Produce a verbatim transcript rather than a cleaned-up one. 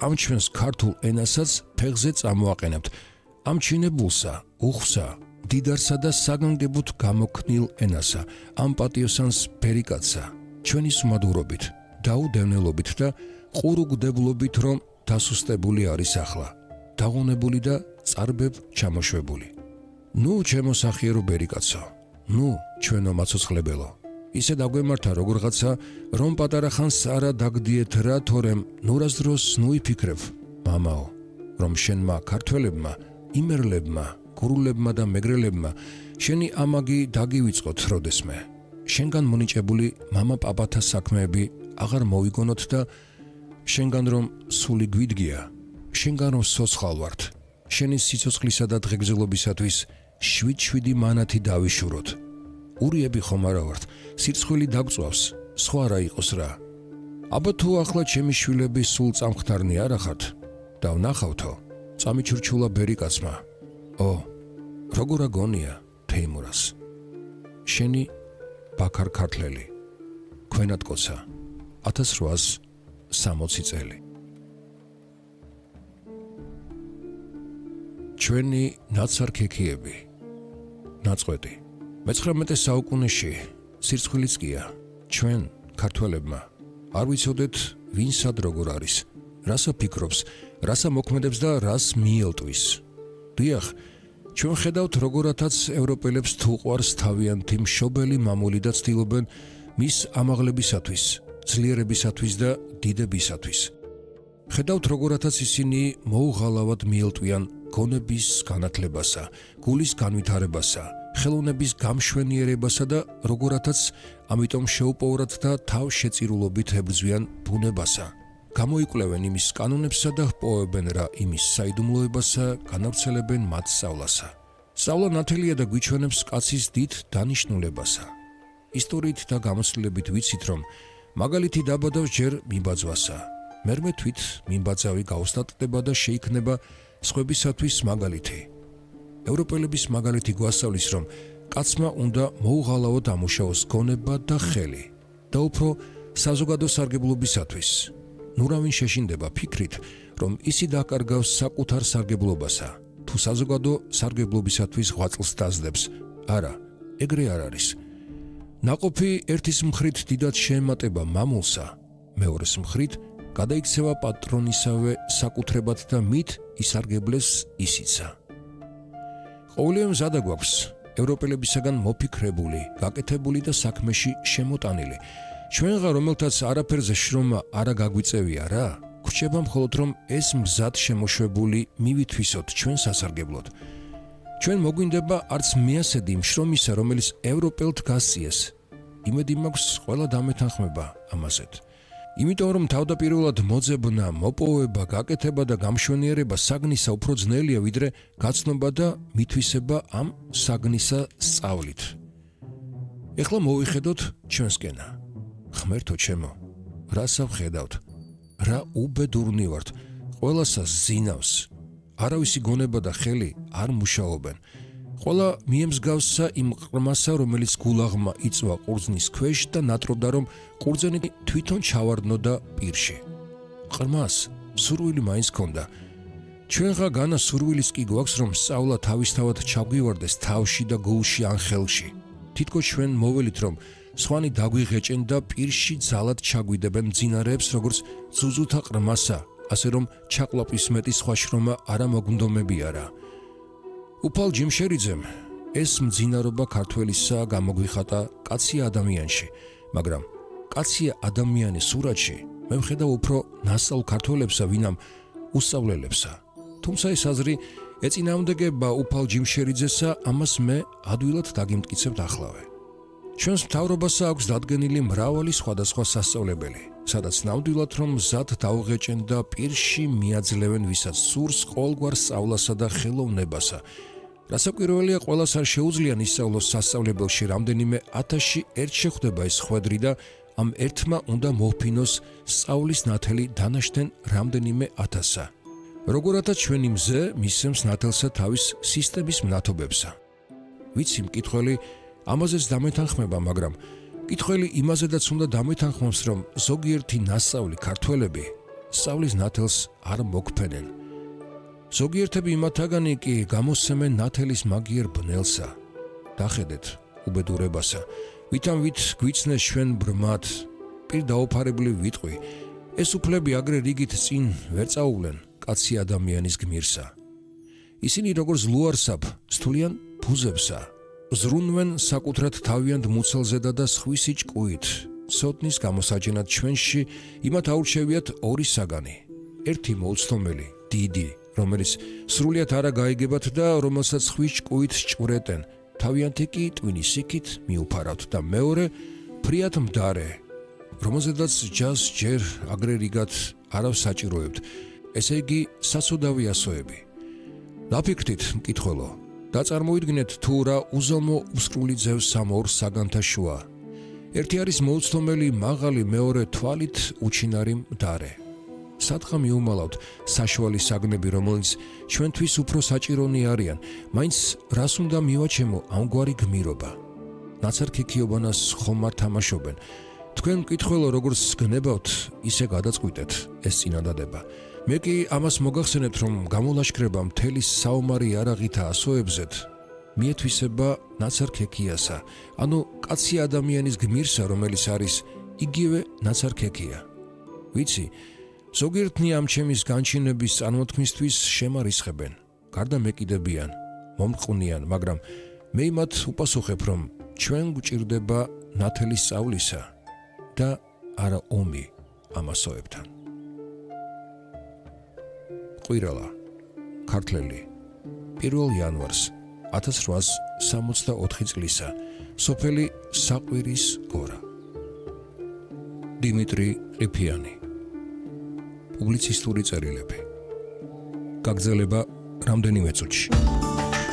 ამ ჩვენს ქართულ ენასაც ფეხზე წამოაყენებთ. ამ ჩინებულსა, უხვსა, დიდარსა და საგანგებოდ გამოქნილ ენასა, ამ პატიოსანს ბერიკაცსა, ჩვენი სუმადურობით, დაუდევნილობით და ყურუგდებულობით, რომ დასუსტებული არის ახლა, დაღონებული და წარბებ ჩამოშვებული. ნუ ჩემო სახიერო ბერიკაცო, ნუ ჩვენო მაცოცხლებელო, ისე დაგვემართა როგორღაცა, რომ პატარა ხანს არა დაგდიეთ რა, თორემ ნურას დროს ნუ იფიქრებ, მამაო, რომ შენმა ქართველებმა, იმერლებმა, გურულებმა და მეგრელებმა შენი ამაგი დაგივიწყოთ როდესმე. შენგან მონიჭებული მამა პაპათა საქმეები აღარ მოვიგონოთ და შენგან რომ სული გვიდგია, შენგან რომ სოცხალ ვართ, შენი სიცოცხლისა და დღეგრძელობისათვის შვიდ-შვიდი მანათი დავიშუროთ. ურიები ხომ არა ვართ, სირცხვილი დაგწვავს, სხვა რა იყოს რა. აბა თუ ახლა ჩემი შვილები სულ წამხდარნი არ ახართ და ვნახავთო, წამიჩურჩულა ბერიკაცმა. ო, როგორ აგონია თეიმურას. შენი ბაქარ ქართლელი, ქვენატკოცა, ათას რვაას სამოცი წელი. ჩვენი ნაცარქექიები, ნაწყვეტი. მეცხრამეტე საუკუნეში სირცხვილიც გია, ჩვენ ქართველებმა არ ვიცოდეთ ვინსად როგორ არის, რასა ფიქრობს, რასა მოქმედებს და რას მიელტვის. დიახ, ჩვენ ხედავთ როგორათაც ევროპელებს თუ ყვარს თავიანთი მშობელი მამული და ცდილობენ მის ამაღლებისათვის, ძლიერებისათვის და დიდებისათვის. ხედავთ როგორათაც ისინი მოუღალავად მიელტვიან გონების განათლებასა, გულის განვითარებასა, ხელოვნების გამშვენიერებასა და როგორათაც ამიტომ შეუპოვრად და თავშეწირულობით ებრძვიან ბუნებასა. გამოიკვლევენ იმის კანონებსა და ჰპოვებენ რა იმის საიდუმლოებასა, განავრცელებენ მათ სწავლასა. სწავლა ნათელია და გვიჩვენებს კაცის დიდ დანიშნულებასა. ისტორიით და გამოცდილებით ვიცით, რომ მაგალითი დაბადავს ჯერ მიბაძვასა. მერმე თვით მიმბაძავი გაუსტატდება და შეიქმნება სხვებისათვის მაგალითი. ევროპელების მაგალითი გვასწავლის, რომ კაცმა უნდა მოუღალავად ამუშავოს გონება და ხელი და უფრო საზოგადო სარგებლობისათვის. ნურავინ შეშინდება ფიქრით, რომ ისი დაკარგავს საკუთარ სარგებლობასა, თუ საზოგადო სარგებლობისათვის ღვაწლს დაძლებს. არა, ეგრე არ არის. ნაყოფი ერთის მხრით დიდად შეემატება მამულსა, მეორეს მხრით გადაიქცევა პატრონისავე საკუთრებად და მით ისარგებლეს ისიცა. ყოველივე მზადა გვაქვს ევროპელებისაგან მოფიქრებული, გაკეთებული და საქმეში შემოტანილი. ჩვენღა რომელთაც არაფერზე შრომა არა გაგვიწევია რა, გვრჩება მხოლოდ რომ ეს მზად შემოშვებული მივითვისოთ ჩვენ სასარგებლოდ. ჩვენ მოგვინდება არც მეასედი იმ შრომისა, რომელიც ევროპელთ გასწიეს. იმედი მაქვს ყველა დამეთანხმება ამაზეთ. იმიტომ რომ თავდაპირველად მოძებნა, მოპოვება, გაკეთება და გამშვენიერება საგნისა უფრო ძნელია ვიდრე გაცნობა და მითვისება ამ საგნისა სწავლით. ეხლა მოვიხედოთ ჩვენსკენა. ღმერთო ჩემო, რასა ვხედავთ, რა უბედურნი ვართ, ყველასას ზინავს, არავისი გონება და ხელი არ მუშაობენ. ყველა მიემსგავსა იმ ყრმასა, რომელიც გულაღმა იწვა ყურძნის ქვეშ და ნატრობდა, რომ ყურძენი თვითონ ჩავარდნოდა პირში. ყრმას სურვილი მაინც ქონდა. ჩვენღა განა სურვილიც კი გვაქვს, რომ სწავლა თავისთავად ჩაგვივარდეს თავში და გულში ან ხელში. თითქოს ჩვენ მოველით, რომ სხვანი დაგვიღეჭენ და პირში ძალად ჩაგვიდებენ მძინარეებს, როგორც ზუზუთა ყრმასა, ასე რომ ჩაყლაპის მეტი სხვა შრომა არა მოგმდომებია რა. უფალ ჯიმშერიძემ ეს მძინარობა ქართველისა გამოგვიხატა კაცია ადამიანში, მაგრამ კაცია ადამიანის სურათში მე ვხედავ უფრო ნასწავლ ქართველებსა, ვინამ უსწავლელებსა. თუმცა ეს აზრი ეწინააღმდეგება უფალ ჯიმშერიძესა, ამას მე ადვილად დაგიმტკიცებთ ახლავე. ჩვენს მთავრობასა აქვს დადგენილი მრავალი სხვადასხვა სასწავლებელი, სადაც ნამდვილად რომ მზად დაუღეჭენ და პირში მიაძლევენ ვისაც სურს ყოველგვარ სწავლასა და ხელოვნებასა. რასაკვირველია, ყველას არ შეუძლია ისწავლოს სასწავლებელში რამდენიმე ათასში ერთ შეხვდება ეს ხვედრი და ამ ერთმა უნდა მოჰფინოს სწავლის ნათელი დანაშთენ რამდენიმე ათასსა. როგორათაც ჩვენი მზე მისცემს ნათელსა თავის სისტემის მნათობებსა. ვიცი მკითხველი ამაზეც დამეთანხმება, მაგრამ მკითხველი იმაზედაც უნდა დამეთანხმოს, რომ ზოგიერთი ნასწავლი ქართველები სწავლის ნათელს არ მოგფენენ. ზოგიერთები იმათაგანი კი გამოსცემენ ნათელის მაგიერ ბნელსა. დახედეთ უბედურებასა, ვითამ ვით გვიცნეს ჩვენ ბრმად, პირ დაუფარებული ვიტყვი, ეს უფლები აგრე რიგით წინ ვერ წაუვლენ კაცი ადამიანის გმირსა. ისინი როგორც ლუარსაბ სტულიან ფუზებსა, ზრუნვენ საკუთრად თავიანთ მუცელზედა და სხვისი ჭკუით, ცოდნის გამოსაჯენად ჩვენში იმათ აურჩევიათ ორი საგანი. ერთი მოუცდომელი, დიდი, რომელიც სრულიად არა გაიგებათ და რომელსაც ხვის ჭკუით ჭვრეტენ, თავიანთი კი ტვინის იქით მიუფარავთ და მეორე ფრიად მდარე, რომელზედაც ჯას ჯერ აგრე რიგად არავს საჭიროებთ, ესე იგი საცუდავი ასოები. დაფიქრდით, მკითხველო, დაწარმოიდგინეთ თუ რა უზომო უსკრული ძევს ამ ორ საგანთა შუა. ერთი არის მოუცდომელი მაღალი, მეორე თვალით უჩინარი მდარე. სადღა მიუმალავთ საშუალი საგნები, რომელიც ჩვენთვის უფრო საჭირონი არიან, მაინც რას უნდა მივაჩემო ამგვარი გმირობა. ნაცარქექიობანას ხომ არ თამაშობენ. თქვენ მკითხველო, როგორც გნებავთ, ისე გადაწყვიტეთ ეს წინადადება. მე კი ამას მოგახსენებთ, რომ გამოლაშქრება მთელი საომარი იარაღითა ასოებზეთ მიეთვისება ნაცარქექიასა, ანუ კაცი ადამიანის გმირსა, რომელიც არის იგივე ნაცარქექია. ვიცი, ზოგიერთნი ამ ჩემის განჩინების წარმოთქმისთვის შემარისხებენ, გარდა მეკიდებიან, მომყვნიან, მაგრამ მე იმათ უპასუხებ, რომ ჩვენ გვჭირდება ნათელის სწავლისა და არა ომი ამასოებთან. ყვირალა, ქართლელი, პირველ იანვარს ათას რვაას სამოცდაოთხი წლისა, სოფელი საყვირის გორა. დიმიტრი ყიფიანი. პუბლიცისტური წერილები. გაგრძელება რამდენიმე წუთში.